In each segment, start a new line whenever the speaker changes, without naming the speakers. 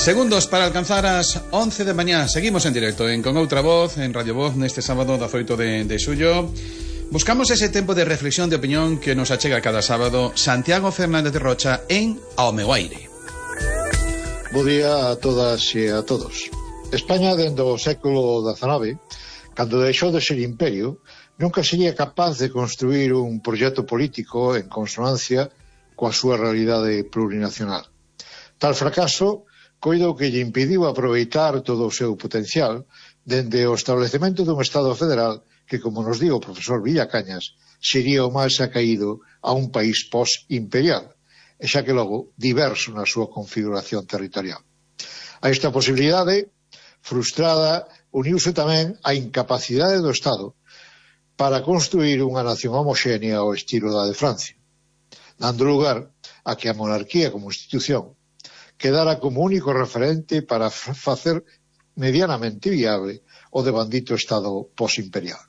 Segundos para alcanzar as 11 de mañá. Seguimos en directo en Con Outra Voz, en Radio Voz, neste sábado 18 de xullo. Buscamos ese tempo de reflexión, de opinión que nos achega cada sábado Santiago Fernández Rocha en Ao meu aire.
Bo día a todas e a todos. España, dende o século XIX, cando deixou de ser imperio, nunca sería capaz de construir un proxecto político en consonancia coa súa realidade plurinacional. Tal fracaso coido que lle impediu aproveitar todo o seu potencial dende o establecemento dun Estado federal que, como nos di o profesor Villacañas, sería o máis acaído a un país post-imperial, e xa que logo diverso na súa configuración territorial. A esta posibilidade frustrada uniuse tamén a incapacidade do Estado para construir unha nación homoxénea ao estilo da de Francia, dando lugar a que a monarquía como institución quedara como único referente para facer medianamente viable o devandito Estado posimperial.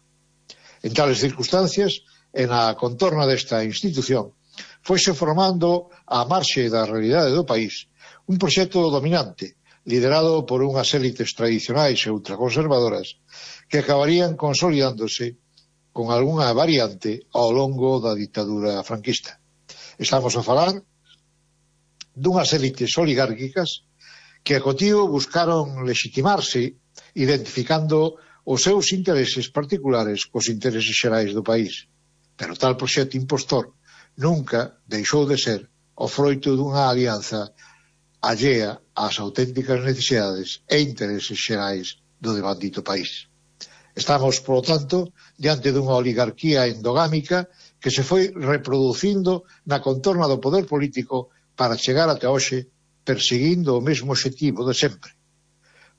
En tales circunstancias, en a contorna desta institución, foise formando a marxe da realidade do país un proxecto dominante, liderado por unhas élites tradicionais e ultraconservadoras que acabarían consolidándose con algunha variante ao longo da ditadura franquista. Estamos a falar dunhas élites oligárquicas que a cotío buscaron legitimarse identificando os seus intereses particulares cos intereses xerais do país. Pero tal proxecto impostor nunca deixou de ser o froito dunha alianza allea ás auténticas necesidades e intereses xerais do devandito país. Estamos, polo tanto, diante dunha oligarquía endogámica que se foi reproducindo na contorna do poder político para chegar ata hoxe perseguindo o mesmo obxectivo de sempre: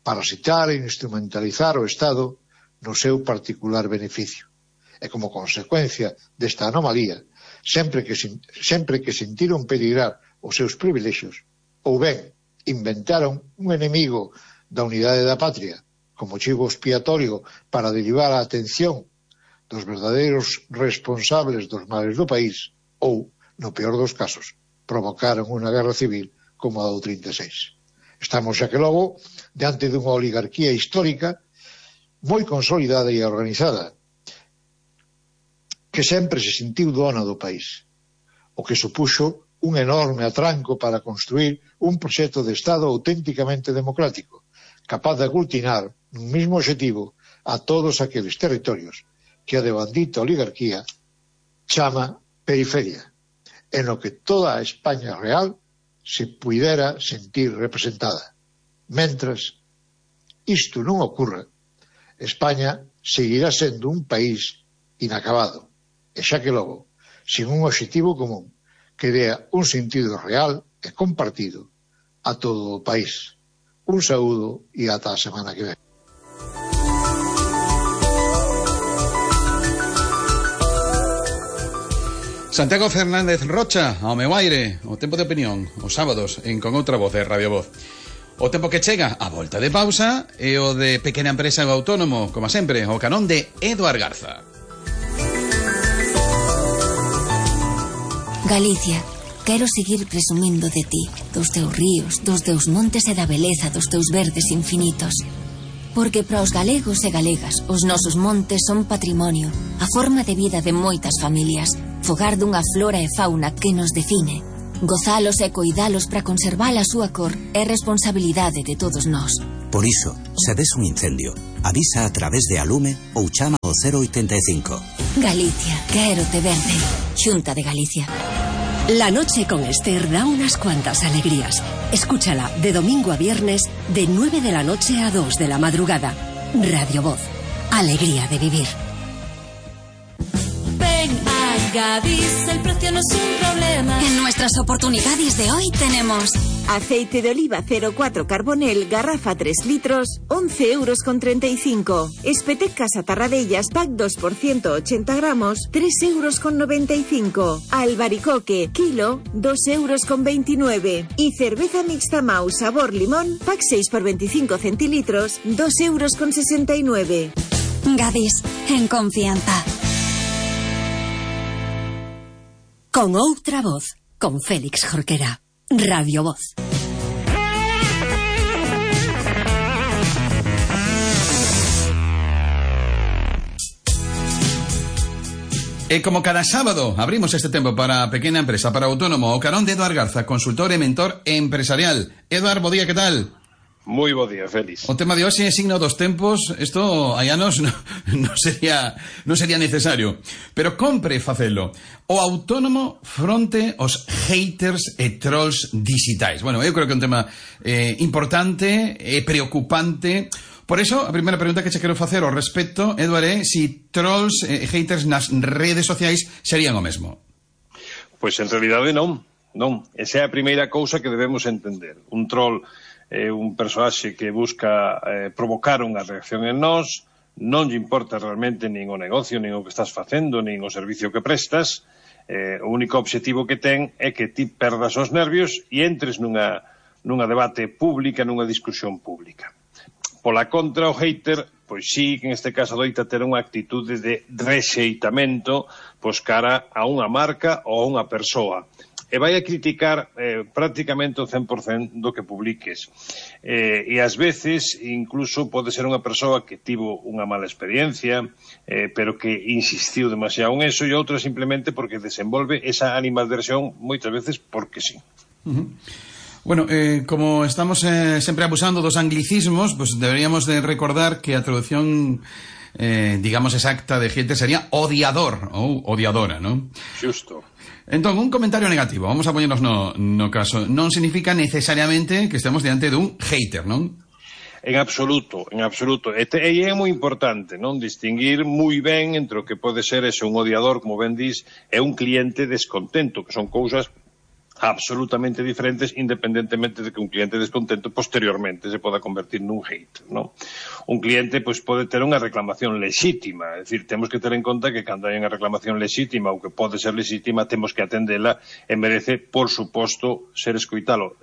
parasitar e instrumentalizar o Estado no seu particular beneficio. E como consecuencia desta anomalía, sempre que sentiron peligrar os seus privilexios, ou ben inventaron un enemigo da unidade da patria como chivo expiatorio para derivar a atención dos verdadeiros responsables dos males do país, ou, no peor dos casos, provocaron unha guerra civil como a do 36. Estamos, xa que logo, diante dunha oligarquía histórica moi consolidada e organizada, que sempre se sentiu dona do país, o que supuxo un enorme atranco para construir un proxecto de Estado auténticamente democrático, capaz de aglutinar nun mesmo obxectivo a todos aqueles territorios que a devandita oligarquía chama periferia, en lo que toda a España real se puidera sentir representada. Mentras isto non ocorra, España seguirá sendo un país inacabado, e xa que logo, sin un obxectivo común que dea un sentido real e compartido a todo o país. Un saúdo e ata a semana que ven.
Santiago Fernández Rocha, ao meu aire, o tempo de opinión, os sábados en Con Outra Voz de Radio Voz. O tempo que chega a volta de pausa e o de pequena empresa e o autónomo, como sempre, o canón de Eduard Garza.
Galicia, quero seguir presumindo de ti, dos teus ríos, dos teus montes e da beleza dos teus verdes infinitos. Porque para os galegos e galegas, os nosos montes son patrimonio, a forma de vida de moitas familias, fogar dunha flora e fauna que nos define. Gozalos e coidalos para conservar a súa cor é responsabilidade de todos nós.
Por iso, se ves un incendio, avisa a través de Alume ou chama ao 085.
Galicia, quero te verde. Xunta de Galicia.
La noche con Esther da unas cuantas alegrías. Escúchala de domingo a viernes de 9 de la noche a 2 de la madrugada. Radio Voz. Alegría de vivir.
Ven a Gadis, el precio no es un problema.
En nuestras oportunidades de hoy tenemos
aceite de oliva 04 Carbonel, garrafa 3 litros, 11,35 €. Espetec Casa Tarradellas, pack 2 por 180 gramos, 3,95 €. Albaricoque, kilo, 2,29 €. Y cerveza mixta Mau sabor limón, pack 6 por 25 centilitros, 2,69 €.
Gadis, en confianza.
Con Outra Voz, con Félix Jorquera. Radio Voz.
Como cada sábado, abrimos este tempo para a pequena empresa, para autónomo, o carón de Eduard Garza, consultor e mentor empresarial. Eduard, bo día, que tal?
Moi bo día, Félix.
O tema de hoxe é signo dos tempos. Isto hai anos non sería necesario, pero compre facelo. O autónomo fronte aos haters e trolls digitais. Bueno, eu creo que é un tema importante e preocupante. Por eso, a primeira pregunta que che quero facer ao respecto, Eduard, é si trolls e haters nas redes sociais serían o mesmo.
Pois en realidade non. Esa é a primeira cousa que debemos entender. Un troll é un persoaxe que busca provocar unha reacción en nós, non lle importa realmente nin o negocio, nin o que estás facendo, nin o servicio que prestas. O único obxectivo que ten é que ti perdas os nervios e entres nunha debate pública, nunha discusión pública. Pola contra, o hater, pois sí, que en este caso doita ter unha actitude de rexeitamento pois cara a unha marca ou a unha persoa. E vai a criticar prácticamente o 100% do que publiques. E ás veces, incluso, pode ser unha persoa que tivo unha mala experiencia, pero que insistiu demasiado en eso, e outra simplemente porque desenvolve esa animadversión moitas veces porque sí.
Bueno, como estamos sempre abusando dos anglicismos, pues deberíamos de recordar que a traducción, digamos, exacta de gente sería odiador ou odiadora, ¿no?
Xusto.
Entón, un comentario negativo, vamos a poñernos no caso, non significa necesariamente que estemos diante dun hater, non?
En absoluto. E é moi importante, non? Distinguir moi ben entre o que pode ser un odiador, como ben dis, e un cliente descontento, que son cousas absolutamente diferentes, independentemente de que un cliente descontento posteriormente se poda convertir nun hate, non? Un cliente pois pode ter unha reclamación lexítima, é dicir, temos que ter en conta que cando hai unha reclamación lexítima ou que pode ser lexítima, temos que atendela e merece, por suposto, ser escoitado,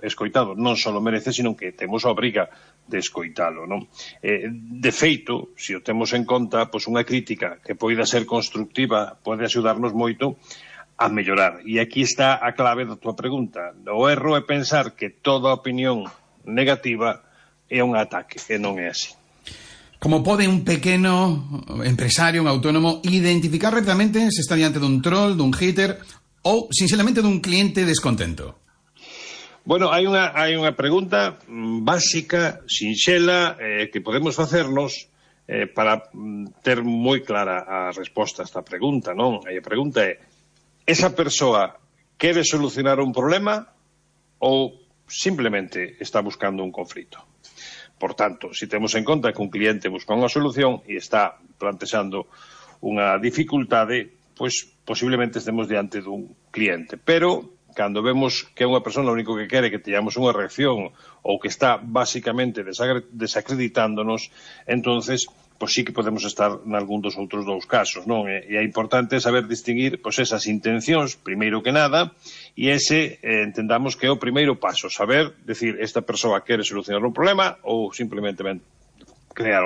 non só merece, sino que temos a obriga de escoitalo, non? De feito, se o temos en conta, pois unha crítica que poida ser constructiva pode axudarnos moito a mellorar. E aquí está a clave da tua pregunta. O erro é pensar que toda opinión negativa é un ataque, e non é así.
Como pode un pequeno empresario, un autónomo, identificar rapidamente se está diante dun troll, dun hater ou, sinceramente, dun cliente descontento?
Bueno, hai unha pregunta básica, sinxela, que podemos facernos para ter moi clara a resposta a esta pregunta, non? E a pregunta é: esa persoa quere solucionar un problema ou simplemente está buscando un conflito? Por tanto, se temos en conta que un cliente busca unha solución e está plantexando unha dificultade, pois posiblemente estemos diante dun cliente. Pero, cando vemos que é unha persona o único que quere que teñamos unha reacción ou que está basicamente desacreditándonos, entonces pois sí que podemos estar nalgún dos outros dous casos, non? E é importante saber distinguir pois esas intencións, primeiro que nada, e ese entendamos que é o primeiro paso, saber, decir, esta persoa quere solucionar un problema ou simplemente crear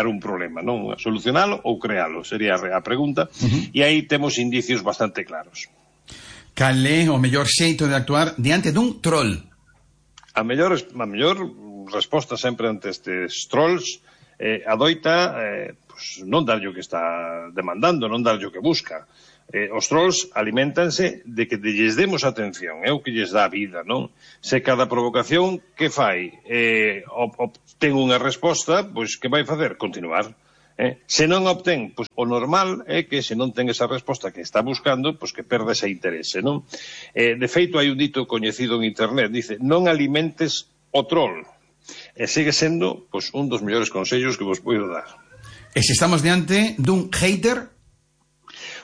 un problema, non? Solucionalo ou crealo, sería a pregunta, e aí temos indicios bastante claros.
Cal é o mellor xeito de actuar diante dun troll?
A mellor resposta sempre ante estes trolls adoita non darlle o que está demandando, non darlle o que busca. Os trolls aliméntanse de que lles demos atención, é o que lles dá vida, non? Se cada provocación que fai obtén unha resposta, pois que vai facer? Continuar. Se non obtén, pois o normal é que se non ten esa resposta que está buscando, pois que perda ese interese, non? De feito, hai un dito coñecido en internet, dice: non alimentes o troll. E sigue sendo pois un dos mellores consellos que vos podo dar.
E se estamos diante dun hater?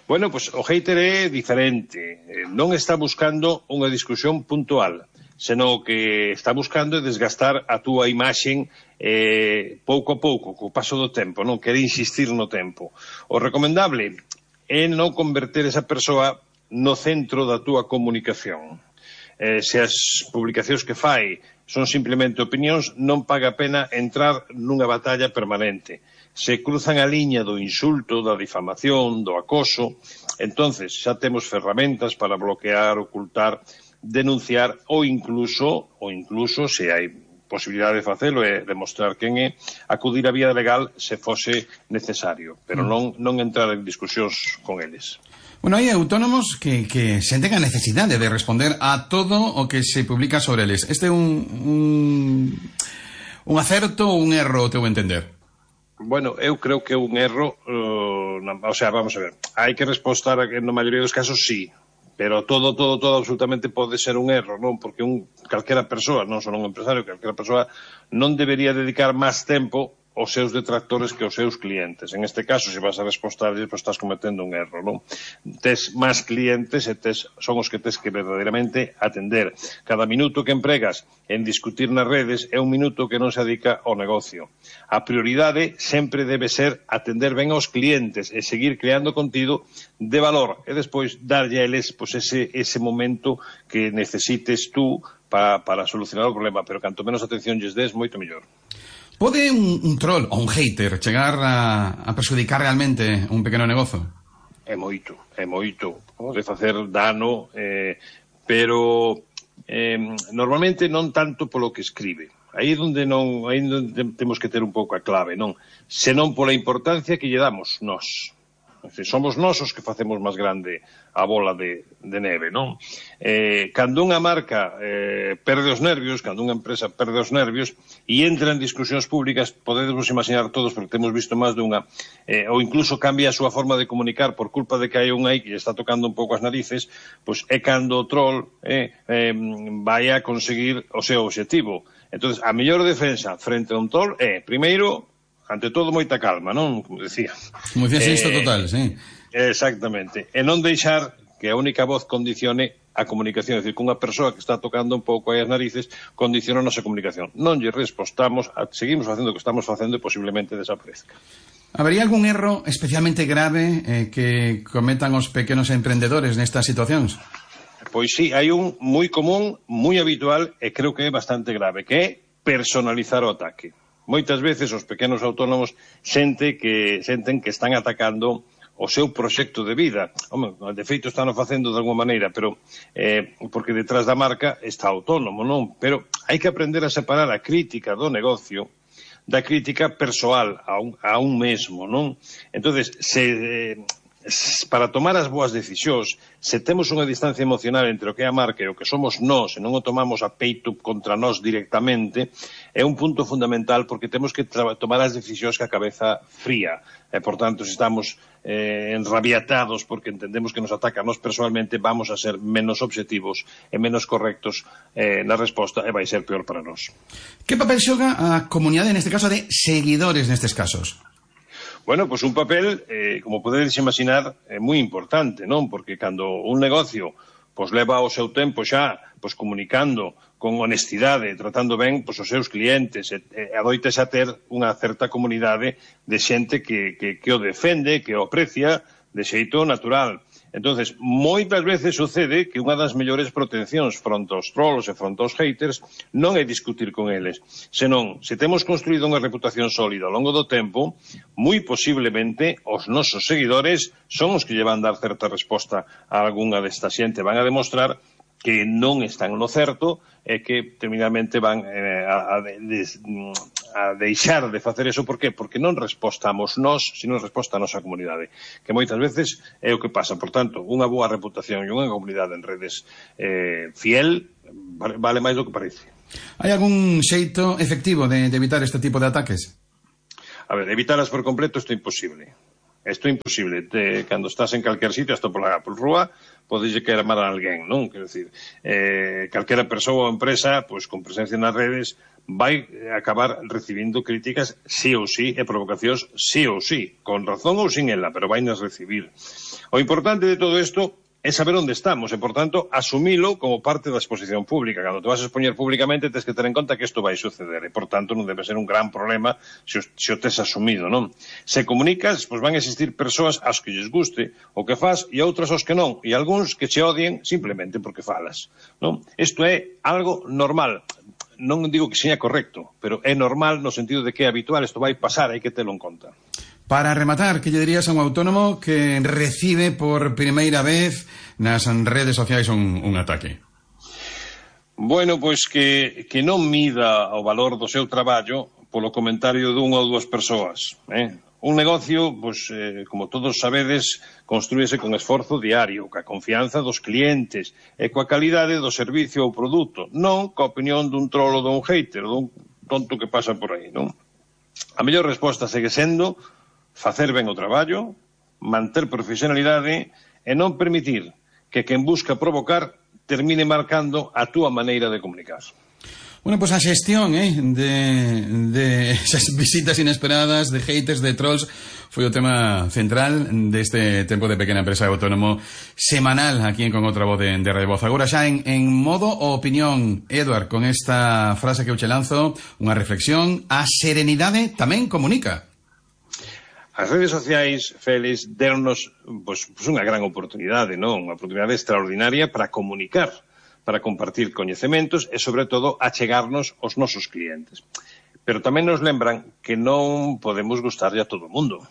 Bueno, pois o hater é diferente. Non está buscando unha discusión puntual, senón que está buscando desgastar a túa imaxen pouco a pouco, co paso do tempo, non quere insistir no tempo. O recomendable é non converter esa persoa no centro da túa comunicación. Se as publicacións que fai son simplemente opinións, non paga a pena entrar nunha batalla permanente. Se cruzan a liña do insulto, da difamación, do acoso, entonces xa temos ferramentas para bloquear, ocultar, denunciar ou incluso se hai posibilidade de facelo e demostrar quen é, acudir á vía legal se fose necesario, pero non entrar en discusións con eles.
Bueno, hai autónomos que senten a necesidade de responder a todo o que se publica sobre eles. Este é un acerto ou un erro, o teu entender?
Bueno, eu creo que é un erro, o sea, vamos a ver, hai que respostar na maioría dos casos sí, pero todo absolutamente pode ser un erro, non? Porque calquera persoa, non só un empresario, calquera persoa non debería dedicar máis tempo aos seus detractores que aos seus clientes. En este caso, se vas a respostarles, pues estás cometendo un erro, non? Tes máis clientes e son os que tes que verdadeiramente atender. Cada minuto que empregas en discutir nas redes é un minuto que non se dedica ao negocio. A prioridade sempre debe ser atender ben aos clientes e seguir creando contido de valor e despois darlle a eles pues, ese momento que necesites tú para solucionar o problema, pero canto menos atención lles des, moito mellor.
Pode un troll ou un hater chegar a perjudicar realmente un pequeno negozo?
É moito. Pode facer dano, pero normalmente non tanto polo que escribe. Aí onde temos que ter un pouco a clave, non? Senón pola importancia que lle damos nós. Somos nós os que facemos máis grande a bola de neve, non? Cando unha marca perde os nervios, cando unha empresa perde os nervios e entra en discusións públicas, podemos imaginar todos, porque temos visto máis dunha, ou incluso cambia a súa forma de comunicar por culpa de que hai un aí que está tocando un pouco as narices, pois é cando o troll vai a conseguir o seu objetivo. Entón, a mellor defensa frente a un troll é, primeiro, ante todo, moita calma, non? Como decía.
Como decía isto total, sí.
Exactamente. E non deixar que a única voz condicione a comunicación. É dicir, que unha persoa que está tocando un pouco aí as narices condiciona a nosa comunicación. Non lle respostamos, seguimos facendo o que estamos facendo e posiblemente desaparezca.
Habería algún erro especialmente grave que cometan os pequenos emprendedores nestas situacións?
Pois sí, hai un moi común, moi habitual e creo que é bastante grave, que é personalizar o ataque. Moitas veces os pequenos autónomos senten que están atacando o seu proxecto de vida. Home, de feito están facendo de alguma maneira, pero porque detrás da marca está autónomo, non? Pero hai que aprender a separar a crítica do negocio da crítica persoal a un mesmo, non? Entonces, para tomar as boas decisións, se temos unha distancia emocional entre o que é a marca e o que somos nós, e non o tomamos a peito contra nós directamente, é un punto fundamental, porque temos que tomar as decisións que a cabeza fría. E, por tanto, se estamos enrabiatados porque entendemos que nos ataca a nós personalmente, vamos a ser menos obxectivos e menos correctos na resposta, e vai ser peor para nós.
Que papel xoga a comunidade, neste caso, de seguidores nestes casos?
Bueno, pois un papel, como podedes imaginar, moi importante, non? Porque cando un negocio pois leva o seu tempo xa pois comunicando con honestidade, tratando ben pois os seus clientes, adoites a ter unha certa comunidade de xente que o defende, que o aprecia de xeito natural. Entonces, moitas veces sucede que unha das mellores proteccións fronte aos trolls e fronte aos haters non é discutir con eles, senón, se temos construído unha reputación sólida ao longo do tempo, moi posiblemente os nosos seguidores son os que lle van dar certa resposta a algunha desta xente, van a demostrar que non están no certo e que terminalmente van a deixar de facer eso. Por qué? Porque non respostamos nós, sino resposta a nosa comunidade, que moitas veces é o que pasa. Por tanto, unha boa reputación e unha comunidade en redes fiel vale máis do que parece.
Hai algún xeito efectivo de evitar este tipo de ataques?
A ver, evitalas por completo isto é imposible. Isto é imposible. Cando estás en calquer sitio, hasta por rúa, podeslle querer amar a alguén, non? Quero dicir, calquera persoa ou empresa, pois con presencia nas redes, vai acabar recibindo críticas sí ou sí e provocacións sí ou sí, con razón ou sin ela, pero vai nas recibir. O importante de todo isto é saber onde estamos e, por tanto, asumilo como parte da exposición pública. Cando te vas a expoñer públicamente, tens que ter en conta que isto vai suceder e, por tanto, non debe ser un gran problema se o tes asumido, non? Se comunicas, pois van a existir persoas ás que lles guste o que faz e outras aos que non, e algúns que che odien simplemente porque falas, non? Isto é algo normal. Non digo que seña correcto, pero é normal no sentido de que é habitual, isto vai pasar, hai que telo en conta.
Para rematar, que lle dirías a un autónomo que recibe por primeira vez nas redes sociais un ataque?
Bueno, pois que non mida o valor do seu traballo polo comentario dunha ou dúas persoas. Un negocio, pois, como todos sabedes, construíse con esforzo diario, coa confianza dos clientes e coa calidade do servicio ou produto, non coa opinión dun trolo ou dun hater, dun tonto que pasa por aí, non? A mellor resposta segue sendo facer ben o traballo, manter profesionalidade e non permitir que quen busca provocar termine marcando a túa maneira de comunicar.
Bueno, pues a xestión de esas visitas inesperadas, de haters, de trolls, foi o tema central deste tempo de Pequena Empresa Autónomo semanal aquí en Con Outra Voz de Radio Voz. Agora xa en modo opinión, Eduard, con esta frase que eu che lanzo, unha reflexión: a serenidade tamén comunica.
As redes sociais, Félix, deronnos pues unha gran oportunidade, non? Unha oportunidade extraordinaria para comunicar, para compartir coñecementos e, sobre todo, achegarnos aos nosos clientes. Pero tamén nos lembran que non podemos gustarlle a todo o mundo.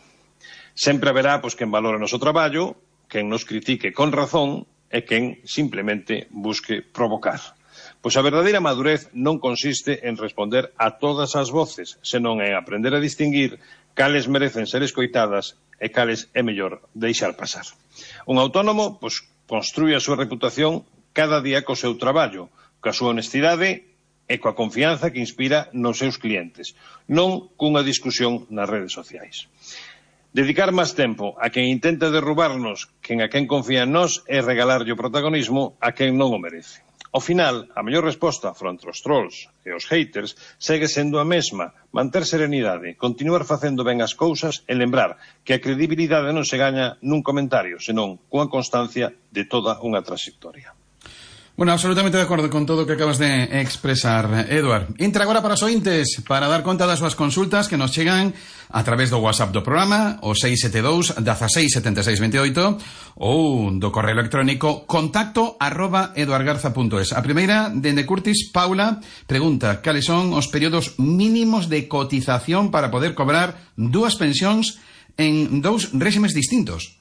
Sempre haberá quen valore o noso traballo, quen nos critique con razón e quen simplemente busque provocar. Pois a verdadeira madurez non consiste en responder a todas as voces, senón en aprender a distinguir cales merecen ser escoitadas e cales é mellor deixar pasar. Un autónomo construye a súa reputación cada día co seu traballo, coa súa honestidade e coa confianza que inspira nos seus clientes, non cunha discusión nas redes sociais. Dedicar máis tempo a quen intenta derrubarnos que a quen confía en nós é regalarlle o protagonismo a quen non o merece. Ao final, a mellor resposta fronte aos trolls e aos haters segue sendo a mesma: manter serenidade, continuar facendo ben as cousas e lembrar que a credibilidade non se gaña nun comentario, senón cunha constancia de toda unha trayectoria.
Bueno, absolutamente de acordo con todo o que acabas de expresar, Eduard. Entra agora para os ointes para dar conta das súas consultas que nos chegan a través do WhatsApp do programa, o 672 16 76 28, ou do correo electrónico contacto@eduardgarza.es. A primeira, dende Curtis, Paula, pregunta: cales son os períodos mínimos de cotización para poder cobrar dúas pensións en dous réximes distintos?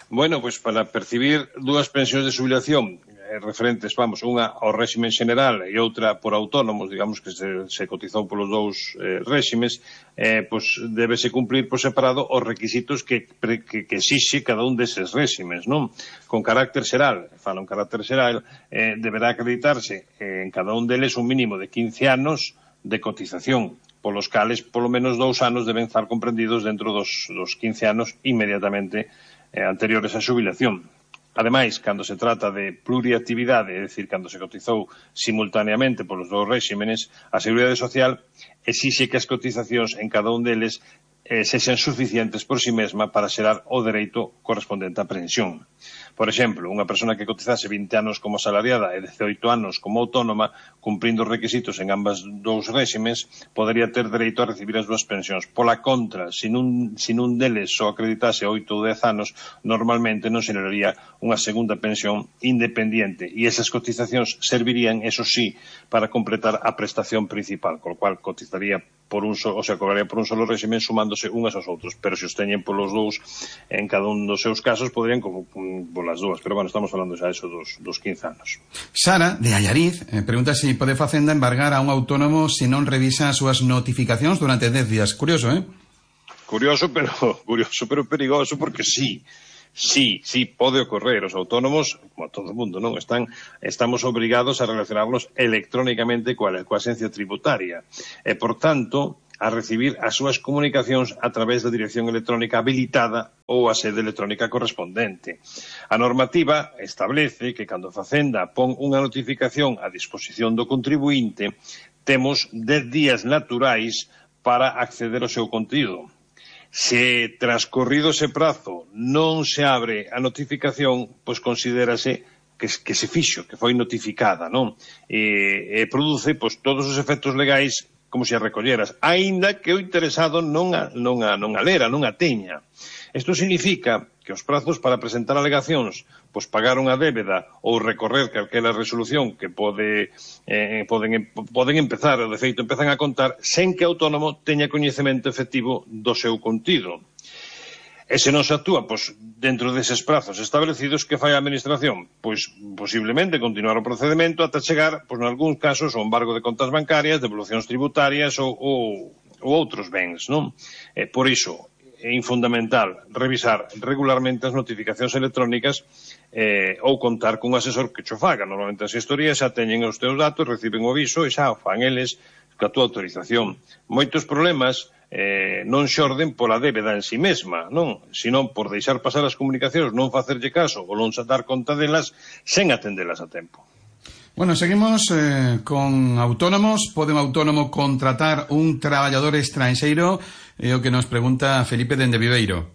Bueno, pues para percibir dúas pensións de xubilación referentes, unha ao réximen xeneral e outra por autónomos, digamos que se cotizou polos dous réximes, débese cumplir por separado os requisitos que exixe cada un deses réximes, non? Con carácter xeral, fala un carácter xeral, deberá acreditarse en cada un deles un mínimo de 15 anos de cotización, polos cales polo menos 2 anos deben estar comprendidos dentro dos 15 anos inmediatamente anteriores á xubilación. Ademais, cando se trata de pluriactividade, é dicir, cando se cotizou simultaneamente polos dous réximenes, a Seguridade Social exixe que as cotizacións en cada un deles sexan suficientes por si mesma para xerar o dereito correspondente á pensión. Por exemplo, unha persona que cotizase 20 anos como asalariada e 18 anos como autónoma, cumprindo os requisitos en ambas dous réximes, podería ter dereito a recibir as dúas pensións. Pola contra, se nun deles só acreditase 8 ou 10 anos, normalmente non se lería unha segunda pensión independiente e esas cotizacións servirían, eso sí, para completar a prestación principal, con lo cual cotizaría cobraría por un solo régimen sumándose unhas aos outros, pero se os teñen polos dous en cada un dos seus casos poderían polas dúas, pero bueno, estamos falando xa eso dos 15 anos.
Sara, de Allariz, pregunta se pode Facenda embargar a un autónomo se non revisa as súas notificacións durante 10 días. Curioso,
Curioso, pero perigoso, porque sí, pode ocorrer. Os autónomos, como todo o mundo, non estamos obrigados a relacionarnos electrónicamente coa axencia tributaria e, por tanto, a recibir as súas comunicacións a través da dirección electrónica habilitada ou a sede electrónica correspondente. A normativa establece que cando a Facenda pon unha notificación a disposición do contribuinte, temos 10 días naturais para acceder ao seu contido. Se transcorrido ese prazo non se abre a notificación, pois considérase que se fixo, que foi notificada, non? E produce todos os efectos legais como se a recolleras, aínda que o interesado non a lera, non a teña. Isto significa que os prazos para presentar alegacións, pagar unha débeda ou recorrer calquera resolución que poden empezar, ou de feito empezan a contar, sen que o autónomo teña coñecemento efectivo do seu contido. E se non se actúa, pois, dentro deses prazos establecidos, que fai a Administración? Pois, posiblemente, continuar o procedimento ata chegar, pois, nalgúns casos, ao embargo de contas bancarias, devolucións tributarias ou outros bens, non? Por iso, é fundamental revisar regularmente as notificacións electrónicas ou contar cun asesor que cho faga. Normalmente as historias xa teñen os teus datos, reciben o aviso e xa o fan eles ca túa autorización. Moitos problemas non xorden pola débeda en si mesma, non? Senón por deixar pasar as comunicacións, non facerlle caso ou non dar conta delas sen atendelas a tempo.
Bueno, seguimos con autónomos. Pode un autónomo contratar un traballador estranxeiro? É o que nos pregunta Felipe dende Viveiro.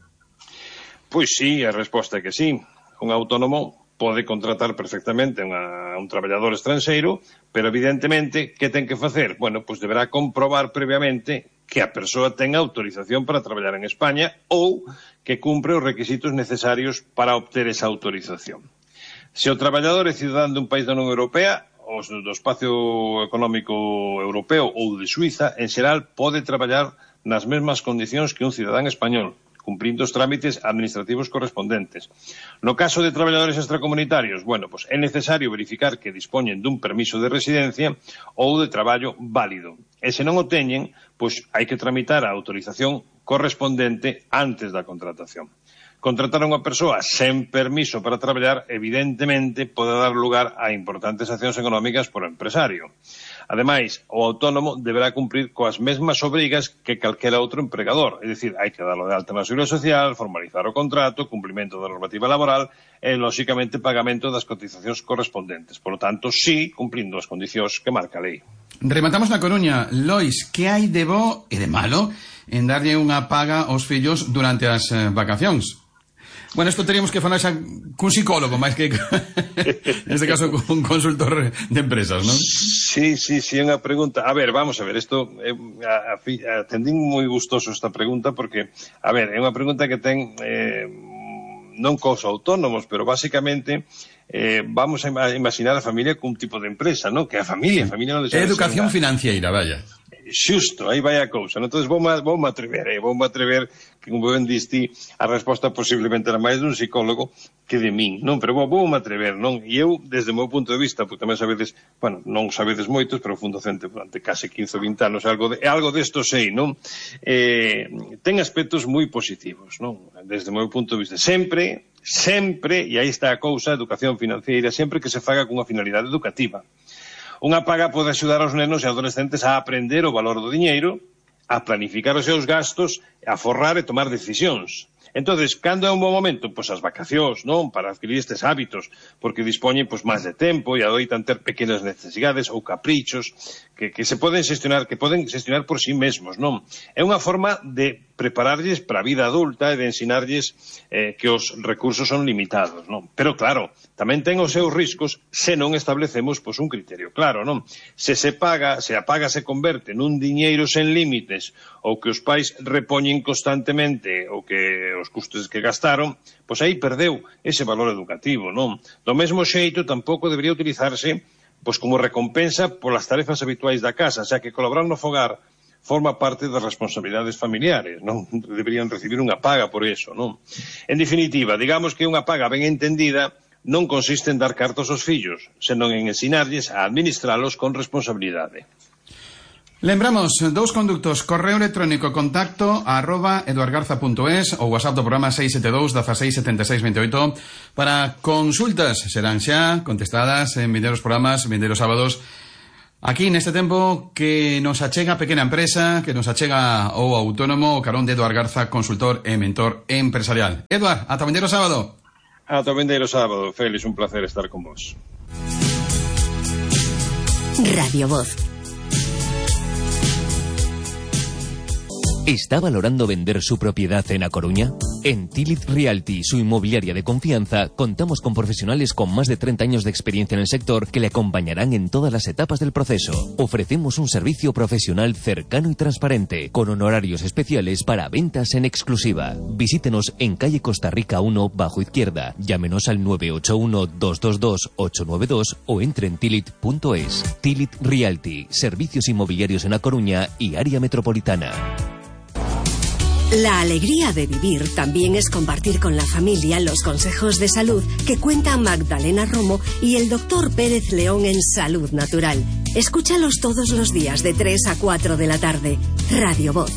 Pois sí, a resposta é que sí. Un autónomo pode contratar perfectamente a un traballador estranxeiro, pero evidentemente, que ten que facer? Bueno, pois deberá comprobar previamente que a persoa ten autorización para traballar en España ou que cumpre os requisitos necesarios para obter esa autorización. Se o traballador é cidadán dun país da Unión Europea, ou do Espacio Económico Europeo ou de Suiza, en xeral pode traballar nas mesmas condicións que un cidadán español, cumprindo os trámites administrativos correspondentes. No caso de traballadores extracomunitarios, bueno, pues é necesario verificar que dispoñen dun permiso de residencia ou de traballo válido. E se non o teñen, pois hai que tramitar a autorización correspondente antes da contratación. Contratar a unha persoa sen permiso para traballar, evidentemente, pode dar lugar a importantes accións económicas por empresario. Ademais, o autónomo deberá cumprir coas mesmas obrigas que calquera outro empregador, é dicir, hai que darlo de alta na Seguridade Social, formalizar o contrato, cumprimento da normativa laboral e, lóxicamente, pagamento das cotizacións correspondentes. Por lo tanto, sí, cumprindo as condicións que marca a lei.
Rematamos na Coruña. Lois, que hai de bo e de malo en darlle unha paga aos fillos durante as vacacións? Bueno, isto teríamos que falar xa cun psicólogo, máis que neste caso cun consultor de empresas, non?
Sí, é unha pregunta. A ver, vamos a ver, isto atendín moi gustoso esta pregunta porque, a ver, é unha pregunta que ten non cos autónomos, pero basicamente vamos a imaginar a familia cun tipo de empresa, non? Que a familia non deixa de ser
educación financiera, vaya.
Xusto, aí vai a cousa. Entón, voume atrever que, como ben diste, a resposta posiblemente era máis dun psicólogo que de min, non? Pero voume atrever, non? E eu, desde o meu punto de vista, porque tamén sabedes, bueno, non sabedes moitos, pero fui docente durante case 15 ou 20 anos, algo desto sei, non? Ten aspectos moi positivos, non? Desde o meu punto de vista. Sempre, e aí está a cousa, educación financiera, sempre que se faga cunha finalidade educativa. Unha paga pode axudar aos nenos e adolescentes a aprender o valor do diñeiro, a planificar os seus gastos, a forrar e tomar decisións. Entonces, cando é un bom momento? Pois as vacacións, non? Para adquirir estes hábitos, porque dispoñen pois máis de tempo e adoitan ter pequenas necesidades ou caprichos que se poden xestionar, que poden xestionar por sí mesmos, non? É unha forma de prepararlles para a vida adulta e de ensinarlles que os recursos son limitados, non? Pero claro, tamén ten os seus riscos se non establecemos pois un criterio claro, non? Se a paga se converte nun diñeiro sen límites ou que os pais repoñen constantemente ou que os custos que gastaron, pois aí perdeu ese valor educativo, non? Do mesmo xeito tampouco debería utilizarse pois como recompensa polas tarefas habituais da casa, xa que colaborar no fogar forma parte das responsabilidades familiares, non? Deberían recibir unha paga por eso, non? En definitiva, digamos que unha paga ben entendida non consiste en dar cartos aos fillos, senón en ensinarlles a administralos con responsabilidade.
Lembramos, dous conductos, correo electrónico contacto @eduardgarza.es ou WhatsApp do programa 672 16 76 28 para consultas, serán xa contestadas en vindeiros programas, vindeiros sábados, aquí neste tempo que nos achega a pequena empresa, que nos achega o autónomo, o carón de Eduard Garza, consultor e mentor empresarial. Eduard, ata vindeiro sábado.
Ata vindeiro sábado, Félix, un placer estar con vos.
Radio Voz. ¿Está valorando vender su propiedad en A Coruña? En Tilit Realty, su inmobiliaria de confianza, contamos con profesionales con más de 30 años de experiencia en el sector que le acompañarán en todas las etapas del proceso. Ofrecemos un servicio profesional cercano y transparente, con honorarios especiales para ventas en exclusiva. Visítenos en calle Costa Rica 1, bajo izquierda. Llámenos al 981-222-892 o entre en tilit.es. Tilit Realty, servicios inmobiliarios en A Coruña y área metropolitana.
La alegría de vivir también es compartir con la familia los consejos de salud que cuentan Magdalena Romo y el doctor Pérez León en Salud Natural. Escúchalos todos los días de 3 a 4 de la tarde. Radio Voz.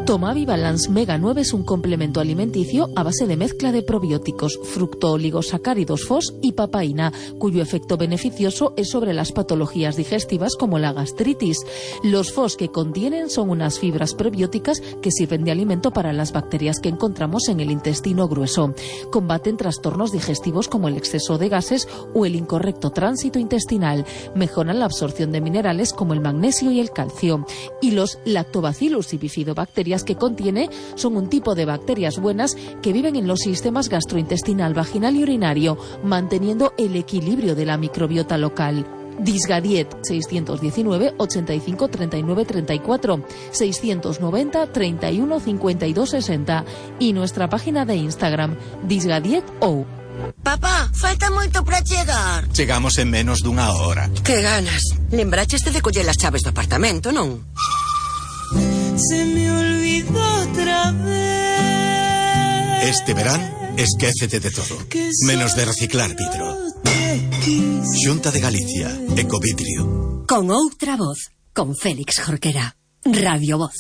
Tomavi Balance Mega 9 es un complemento alimenticio a base de mezcla de probióticos, fructooligosacáridos FOS y papaína, cuyo efecto beneficioso es sobre las patologías digestivas como la gastritis. Los FOS que contienen son unas fibras prebióticas que sirven de alimento para las bacterias que encontramos en el intestino grueso. Combaten trastornos digestivos como el exceso de gases o el incorrecto tránsito intestinal. Mejoran la absorción de minerales como el magnesio y el calcio. Y los Lactobacillus y bifidobacterias que contiene son un tipo de bacterias buenas que viven en los sistemas gastrointestinal, vaginal y urinario, manteniendo el equilibrio de la microbiota local. Disgadiet 619 85 39 34 690 31 52 60 y nuestra página de Instagram Disgadiet.ou.
Papá, falta moito para chegar.
Chegamos en menos dunha hora.
Que ganas. Lembraches de coller as chaves do apartamento, non?
Se me olvidó otra vez.
Este verán, esquécete de todo, menos de reciclar vidro. Xunta de Galicia, Ecovidrio.
Con outra voz, con Félix Jorquera. Radio Voz.